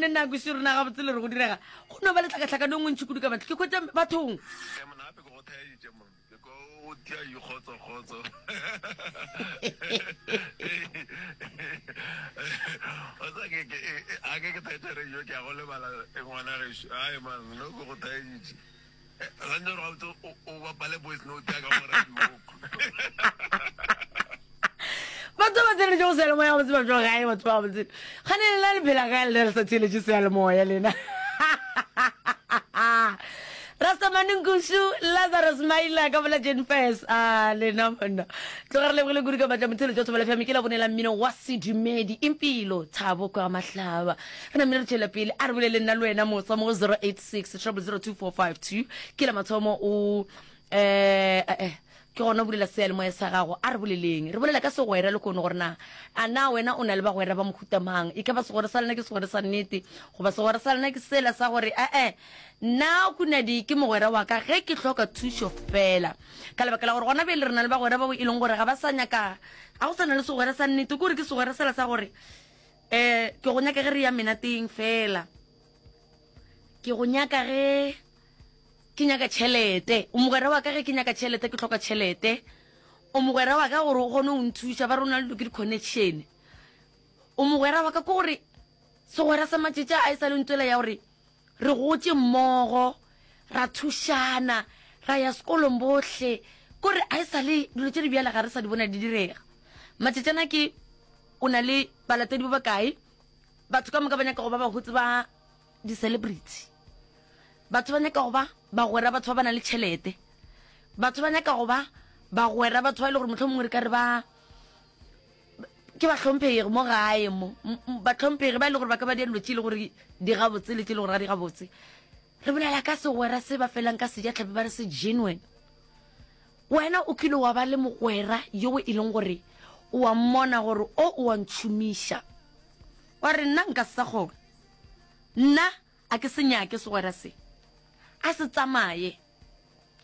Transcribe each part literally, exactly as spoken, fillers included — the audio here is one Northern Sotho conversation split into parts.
kgonne nna kweše rena gabotse le re go direga go no ba le tlhakatlhakano e ngwe ntši kudu ka batho ke hwetša bathong. Ee monna gape ke go theeditše monna ke ko o tia yi kgotso kgotso o tsa ke ke a ke ke theetša radio ke ya go lebala ngwana gešo ai man no ke go theeditše gantši gore gabotse o bapale voice note ya ka mo radio. Batho ba theeletše go seyalemoya gabotse ba tšwa gae batho ba gabotse gane lena le phela gae lena le sa theeletše seyalemoya lena. Rastamane Nkusu Lazarus Maila ka bola Jenfes a lena monna tloga re lebogile kudu ka matla motheletši wa Thobela F M ke la bone la mmino wa sedumedi impilo thabo kwa mahlaba re namile re tšwela pele a re bolele nna le wena mosa mo go zero eight six triple zero two four five two ke la mathomo o eh eh ke gona o bulela seyalemoya sa gago a re boleleng re bolela ka segwera le kono gore na a na wena o na le bagwera ba mohuta mang e ka ba segwera sa lena ke segwera sa nnete goba segwera sa lena ke sela sa gore ee nna Kunadi ke mogwera wa ka ge ke hloka thušo fela ka lebaka la gore gona bjale re na le bagwera bao e leng gore ga ba sa nyaka ga go sa na le segwera sa nnete ke gore ke segwera sela sa gore um ke go nyaka ge re ya menateng fela ke go nyaka ge ke nyaka tšhelete o mogwera wa ka ge ke nyaka tšhelete ke hloka tšhelete o mogwera wa ka gore o kgone go nthuša ba re o na le dilo ke di-connection o mogwera wa ka ke gore segwera sa matšetša a e sa le ntwela ya gore re gotše mmogo ra thušana ra ya sekolong bohle kore a e sa le dilo tše di bjale ga re sa di bona di direga matšetšana ke o na le balatedi ba bakae batho ka moka ba nyaka go ba bahotse ba di-celebrity batho ba nyaka go ba bagwera batho ba ba nang le tšhelete batho ba nyaka go ba bagwera batho ba e le gore mohlomongwe re ka re ba ke bahlomphegi mo gae mo bahlomphegi ba e le gore ba ka ba dia dilo tše e le gore di gabotse le tše e le gore ga di gabotse re bolela ka segwera se ba felang ka sejatlhapi ba re se genuine wena o kile wa ba le mogwera yo e leng gore o a mmona gore o o a ntšhomiša wa re nna nka se sa kgona nna a ke se nyake segwera se a se tsamaye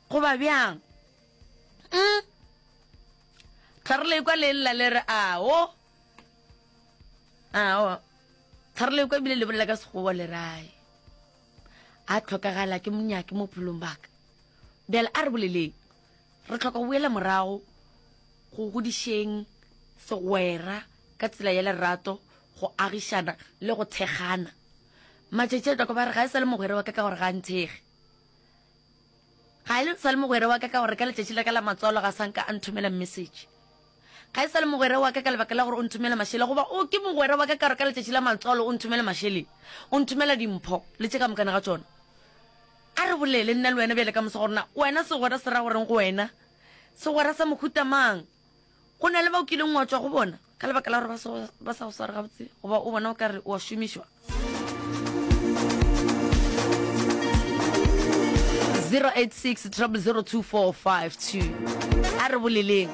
goba bjang mm tlhare le kwa le lla le re ao ao tlhare le kwa ebile le bolela ka sekgowa le rae a tlhokagala ke monyake mo bophelong baka bjale a re boleleng re tlhoka go boela morago go godišeng segwera ka tsela ya lerato go agišana le go thekgana matšatši a tloka ba re ga e sa le mogwera wa ka ka gore ga a nthege ga e sa le mogwera wa ka ka gore ka letšatši la ka la matswalo ga sa nka a nthomela message ga e sa le mogwera wa ka ka lebaka la gore o nthomela mašele goba o ke mogwera wa ka ka gore ka letšatši la matswalo o nthomela mašeleng o nthomela dimpho le tše ka mokana ga tšona a re bolele nna le wena bjale ka moso gore na wena segwera se ra goreng go wena segwera sa mohuta mang go na le ba o kileng wa tšwa go bona ka lebaka la gore ba sa go sware gabotse goba o bona o ka re o a šomišwa zero eight six triple zero two four five two a re boleleng.